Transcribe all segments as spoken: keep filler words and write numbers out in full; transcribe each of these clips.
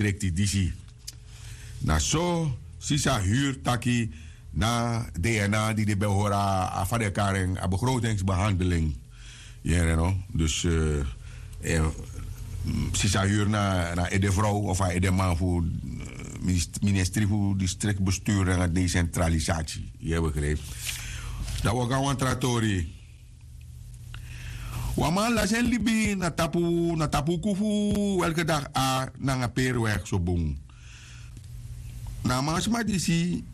distrikti disi. Na so sisa huru taki na dna di de ben hori a fadekaren a begrotingsbehandeling. Yere no dus sisa huru na edevrouw of a edeman fu ministri fu distrikti bestuur nanga decentralisatie. Yu e begrijpi? Dan wi o go na wan tra tori. Wan man lasi en libi na tapu na tapu uku fu welke dag a nanga peri weg so bun. Na a man sma disi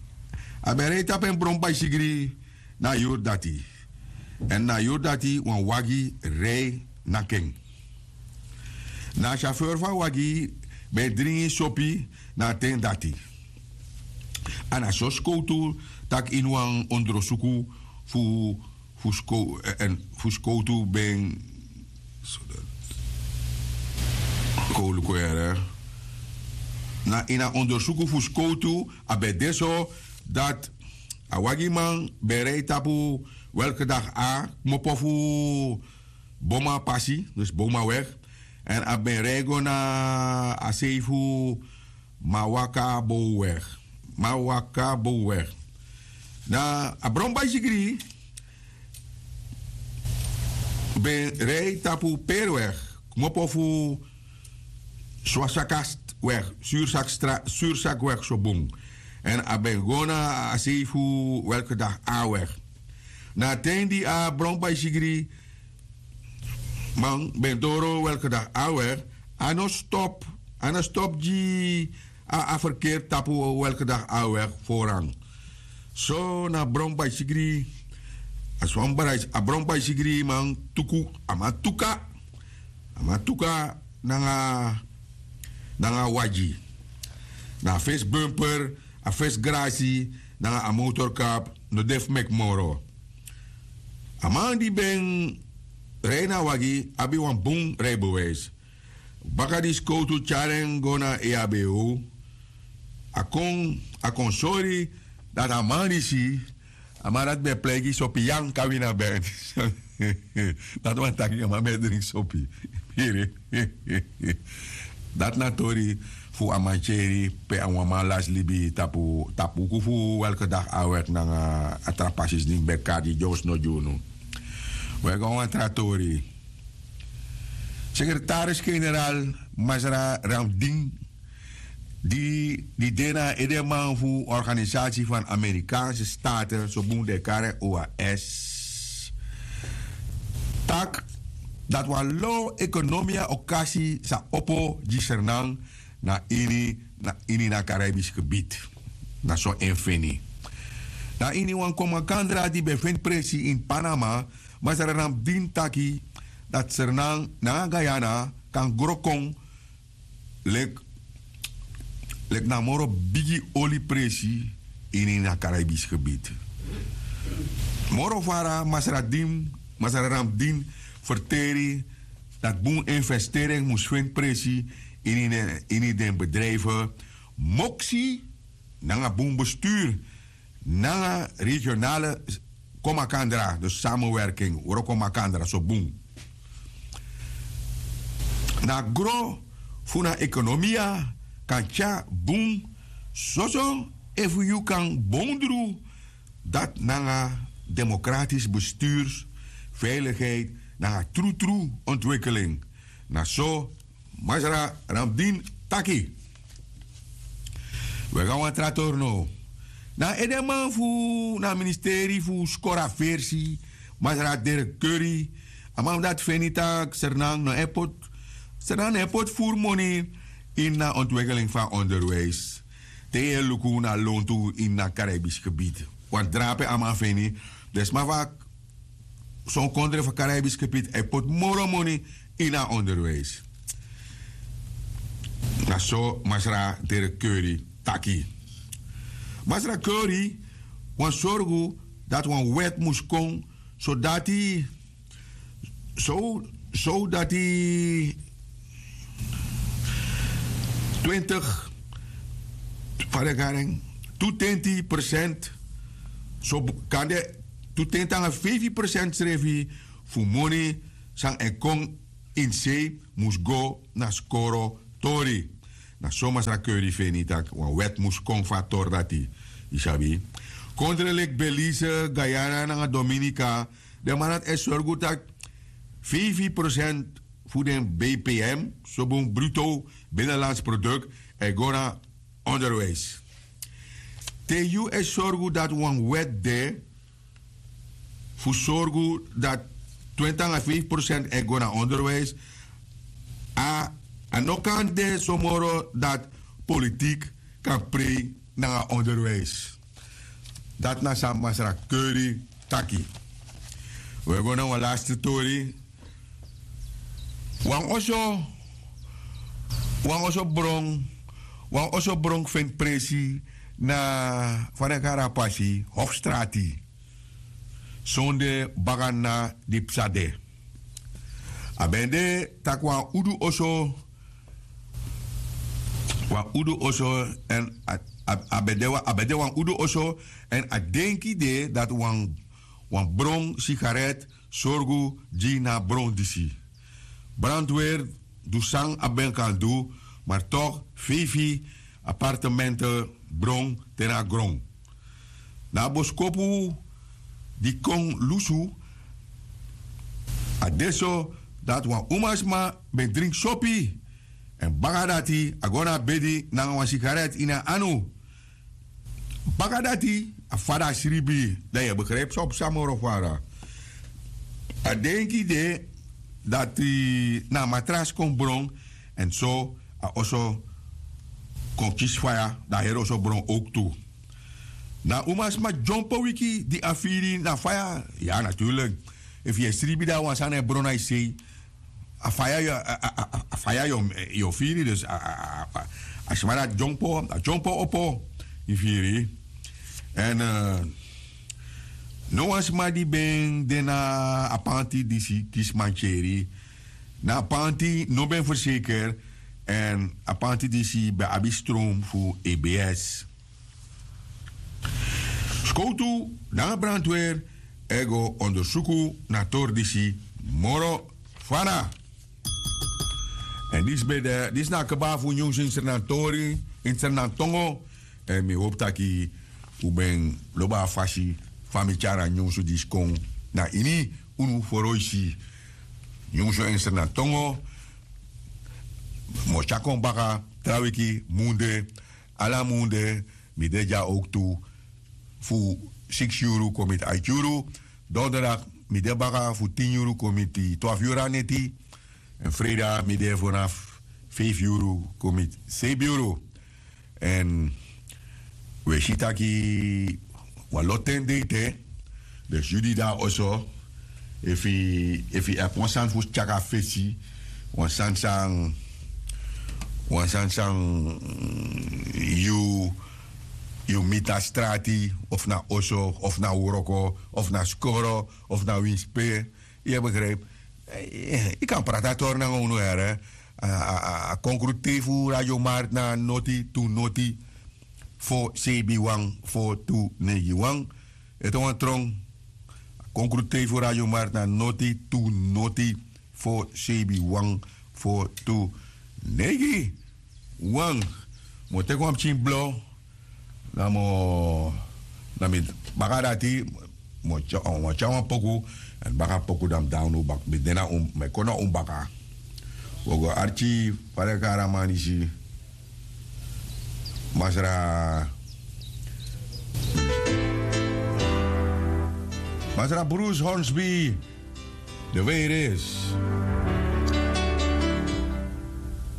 a ben rei tapu en bron baisigri na a yuru dati. Èn na a yuru dati wan wagi rei naki en. Na a syafeur fu a wagi ben e dringi sopi na a ten dati. A na so skowtu tak' ini wan ondrosuku fu fu skowtu ben kowluku yere. Na ini a ondersuku fu skowtu a ben de so dati a wagiman ben rei tapu welke dagi a kmopo fu boma pasi dus boma weg. Èn a ben rei go na a sei fu mawaka bowweg. Mawaka bowweg. Na a bron baisigri ben rei tapu periweg kmopo fu swasakast weg sursakweg so bun. Èn a ben go na a sei fu welke dagi a weg. Na a ten di a bron baisigri man ben doro welke dagi a weg. A no stop a no stop gi a a ferkeri tapu welke dagi a weg foran. So na bron baisigri a swan brais a bron baisigri man tuku a man tuka a man tuka nanga nanga a wagi. Na a fesi bumper a fesi grasi nanga a motorkap no de fu meki moro. A man di ben rei na a wagi abi wan bun reibewijs. Baka di skowtu tyari en go na eabo a kon a kon sori dati a man disi a man dati ben e pleigi sopi yan kan wini a ben. Dati wani taki a man ben e dringi sopi. Dati na tori fu a mantyeri pe a wan man lasi libi tapu tapu uku fu welke dagi a wèk nanga a tra pasi sni ben kari di dyowsno gi unu. Wi e go na wan tra tori. Sekretaris-generaal masra ramdin di di de na a edeman fu organisasi fan amerikaanse staten so bun den e kari en oas taki dati wan low ekonomia okasi sa opo gi sernan na ini na ini na karaibis gebit. Na so en feni na ini wan komakandra di ben feni presi ini panama masra ramdin taki dati sernan nanga guyana kan gro kon leki leki na moro bigi oli presi ini na karaibis gebit. Moro fara masra din masra ramdin ferteri dati bun investering mus feni presi ini den bedrijfe moksi nanga bun bestuur nanga regionale komakandra dus samenwerking wroko makandra so bun. Na gro fu na ekonomia kan tyari bun soso efu yu kan bondru dati nanga demokratis besturs veiligheid nanga trutru ontwikeling. Na so masra ramdin taki. Wi e go na wan tra tori now. Na a edeman fu na a ministeri fu skoro a versi masra derek curry a man fu dati feni tak' sernan no e poti sernan no e poti furu moni ini na ontwikeling fu a onderwijs. Te yu e luku na lontu ini na karaibis gebit wan drape a man feni den sma fu a son kondre fu a karaibis gebit a e poti moro moni ini a onderwijs. Na so masra derek curry taki. Masra curry wani sorgu dati wan wèt mus kon sodati sodati twintig fadekaren tu tenti persent so kande tu tenti nanga feifi persent srefi fu moni san e kon ini sei mus go na skoro tori. Na so masra keuri feni tak' wan wèt mus kon fu a tori dati. Yu sabi, kondre leki belize, guyana nanga dominika, den man dati e sorgu tak' feifi prosent fu den bpm, sobun bruto binnenlands produk, e go na onderwijs. Te yu e sorgu dati wan wèt de fu sorgu dati twenti nanga feifi prosent e go na onderwijs, a a no kan de so moro dati politik kan prei nanga onderwijs. Dati na san masra keuri taki. We go na wan lasti tori. Wan oso wan oso bron wan oso bron feni presi na fa den kari a pasi hofstrati, sonde baka na di psa de. A ben de tak' wan udu oso wan udu oso èn a a- a ben de wan- a ben de wan udu oso èn a denki de dati wan wan bron sigaret sorgu gi na a bron disi. Brandweri du san a ben kan du, ma tok' feifi apartemente bron te na gron. Na a boskopu di kon lusu a de so dati wan umasma ben dringi sopi èn baka dati a go na a bedi nanga wan sigaret ini a anu. Baka dati a fada sribi, dan yu e begrijpi san o psa moro fara. A denki de dati na a matras kon bron èn so a oso kon kisi faya, dan a heri oso bron owktu. Na a umasma dyompo wiki di a firi na faya. Ya naturlik, efu yu e sribi dan wan sani e bron na yu sei, a faya yu o firi dus a sma dati dyompo a dyompo opo. Yu firi? Èn no wan sma di ben de na a panti disi kisi mantyeri. Na a panti no ben ferseker. Èn a panti disi ben abi strom fu ebs. Skowtu nanga brandweri e go ondersuku na a tori disi moro fana. Èn disi ben de disi na a kba fu nyunsu ini srnantori, ini srnantongo. Èn mi hopu taki un ben lobi a fasi fa mi tyari a nyunsu disi kon na ini unu foroisi. Nyunsu ini srnantongo. Mi o tyari kon baka tra wiki munde. Ala munde mi de dya owktu fu siksi yuru kon miti aiti yuru. Donderdag mi de baka fu tin yuru kon miti twafu yuru na neti. Èn freida mi de fanafu feifi yuru kon miti seibi yuru. Èn wi e si taki wan lo ten de ete. Dus yu di de na oso, efu yu abi wan sani fu tyari kon na fesi, wan sani san wan sani san yu yu miti na strati of na oso of na wroko of na skoro of na winsi pe, yu e begrijpi? Yu kan prati a tori nanga unu here. A konkru tei fu radio markt na noti tu noti fo seibi wan fo tu neigi wan. Ete wan trong. A konkru tei fu radio markt na noti tu noti fo seibi wan fo tu neigi wan. Mi o teki wan pikin blo. Na mi o na mi baka dati. Mi o tyari wan poku. Èn baka poku dan mi de na unu baka mi de na unu baka. Wi o go arki. Fa den kari a man disi? Masra masra bruce hornsby. De virus.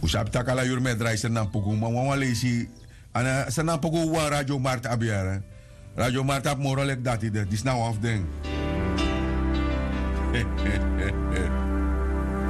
Un sabi tak' ala yuru mi e drai srnanpuku ma wawan leisi. Srnanpuku wawan radio markt abi yara. Radio markt abi moro leki dati de disi na wan fu den.